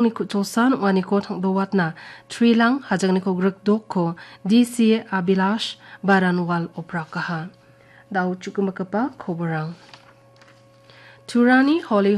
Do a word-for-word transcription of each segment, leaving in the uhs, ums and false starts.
Ni ku·chosan ong·aniko tangdowatna Trilang Hajagniko Grikdokko D C Abhilash Baranwal oprakaha. Dao chu·gimikgipa koborang. Turani Holy,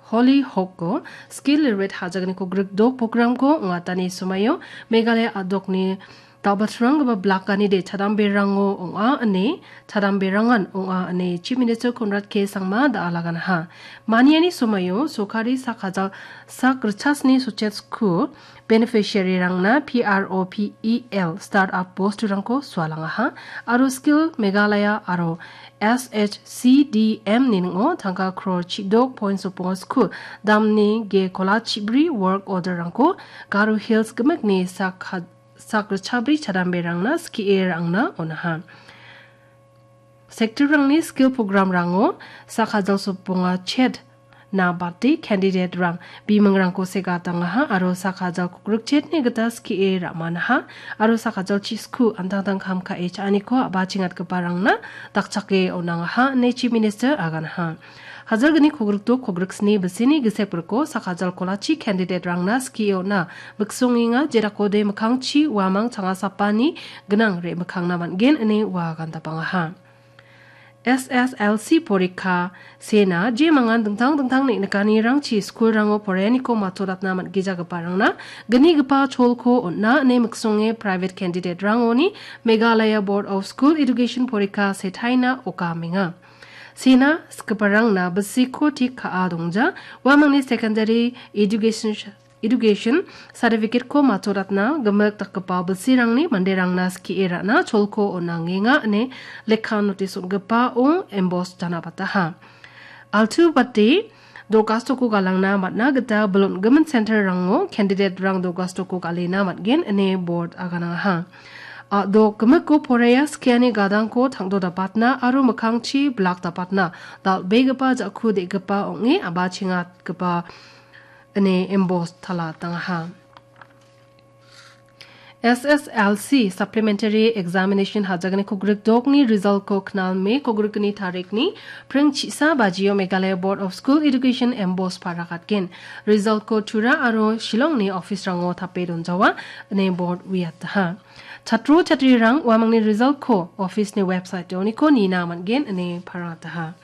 Holy Hawkko Skill Lerate Hajagniko Grikdok programko ong·atani somaio Meghalaya a·dokni dal·batranggipa blakani de chadamberango ong·a ine, chadamberangan ong·a ine Chief Minister Conrad K Sangma da·alaganaha. Maniani somaio sokari sak hajal sak richasni sochetsku beneficiary-rangna P R O P E L startup bosturangko sualangaha aro Skill Meghalaya aro S H C D M ni ning·o tangka crore chidok point sopong sku damni ge kola chibri work order-rangko Garo Hills gimikni sak ha-, sak richabri chadamberangna skie ra·angna on·aha. Sector-rangni skill program-rango sak hajal soponga chet na bate candidate-rang bimingrangko segatangaha aro sak hajal kukrukchetni gita skie ra·manaha aro sak hajal chisku an·tangtang kam ka·e cha·aniko a·bachengatgiparangna dakchake on·angaha ine Chief Minister aganaha. Hajalgni kogrikdok kogriksni bisini gisepriko sak hajal kolachi candidate-rangna skie on·a miksongenga, jedakode mikkangchi uamang changasapani gnang re·mikkangna man·gen ine ua gandapangaha. S S L C porikka sena jemangan dingtang dingtang neng·nikanirangchi skulrango poraianiko matoratna man·gijagiparangna gnigipa cholko on·a ine miksonge private candidate-rangoni Meghalaya Board of School Education porikka setaina okamenga. Sena skiparangna bisiko tik ka·a dongja, uamangni secondary education Education certificate-ko matoratna gimik dakgipa bilsirangni manderangna skie ra·na cholko on·angenga ine lekka notis on·gipao emboss janabataha. Altu bate do·gastoko galangna man·a gita bilon·gimin center-rango candidate-rang do·gastoko galena man·gen ine board aganangaha. A·dok gimiko poraia skiani gadangko tangdo dapatna aro mikkangchi blak dapatna dal·begipa ja·ku de·gipa ong·e a·bachengatgipa ine emboss tala tangaha. S S L C Supplementary Examination hajagniko grikdokni result-ko knal Me kogrikni tarikni pring chisa bajio Meghalaya Board of School Education emboss parakatgen. Result-ko Tura aro Shillongni office-rango tape donjawa ine board uiataha. Chatro chatrirang uamangni result-ko office-ni website-oniko nina man·gen ine parataha.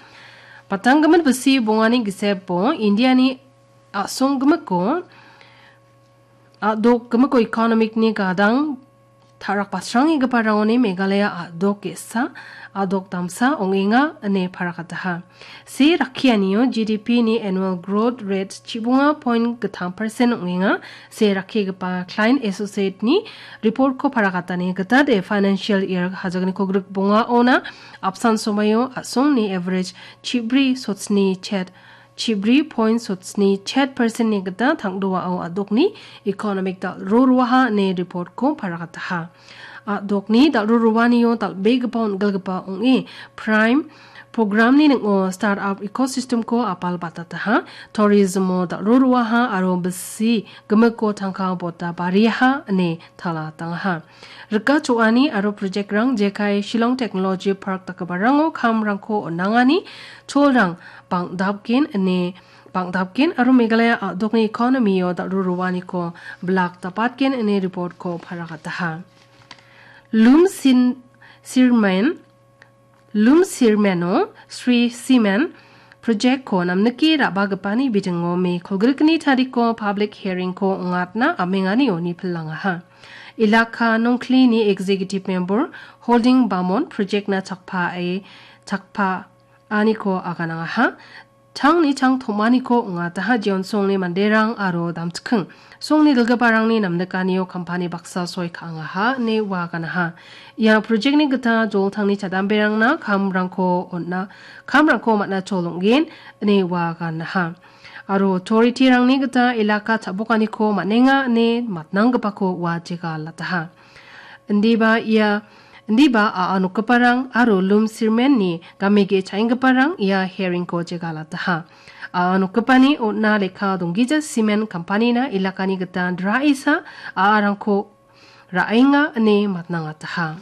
Patanggimin bisi bongani gisepo Indiani a·song gimiko, a·dok gimiko economic-ni gadang ta·rak basranggiparangoni Meghalaya a·dok ge·sa, a·dok damsa ong·enga ine parakataha. Se rakkianio G D P-ni annual growth rate chibonga point gittam percent ong·enga. Se rakkigipa Klein Associate-ni report-ko parakatani gita de financial year hajagniko grikbongaona apsan somaio a·songni average chibri sotsni chet chibri point sotsni chet percent-ni gita tangdoao a·dokni economic dal·ro roaha ine report-ko parakataha. A·dokni dal·ro roanio dal·begipa on·gilgipa ong·e Prime program-ni ning·o startup ecosystem-ko apal batataha, tourism-o dal·ro roaha aro bisi gimiko tangka bota bariaha ine tala tangaha. Rika cho·ani aro project-rang jekai Shillong Technology Park dakgiparango kamrangko on·angani cholrang bang·dapgen ine, bang·dapgen aro Meghalaya a·dokni economy-o dal·ro roaniko blak dapatgen ine report-ko parakataha. Lum Sin Sirmen Lum Sirmeno Sri Simen project-ko namnike ra·bagipani bidingo Me kolgrikni tariko public hearing-ko ong·atna amenganio nipilangaha. Ilaka Nongklini executive member Holding Bamon project-na chakpae, chakpaaniko aganangaha. Tangni tang tom·aniko ong·ataha, jeon songni manderang aro damchiking songni dilgiparangni namnikanio kampani baksa soi ka·angaha ine ua ganaha. Ia project-ni gita joltangni chadamberangna kamrangko on·a, kamrangko man·a chol ong·gen ine ua ganaha. Aro authority-rangni gita ilaka cha·bokaniko man·enga ine matnanggipako ua jegalataha. Indiba ia, indiba a·a nokgiparang aro Lum Sirmenni gamege cha·enggiparang ia hearing-ko jegalataha. A·a nokgipani on·a lekka donggija simen kampanina ilakani gita draisa a·arangko ra·enga ine matnangataha.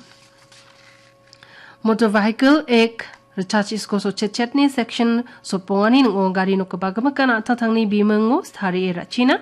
Motor Vehicle Act richachisko sotchetchetni section sotbongani ning·o gari nokgipa gimikan a·tatangni bimingo tarie ra·china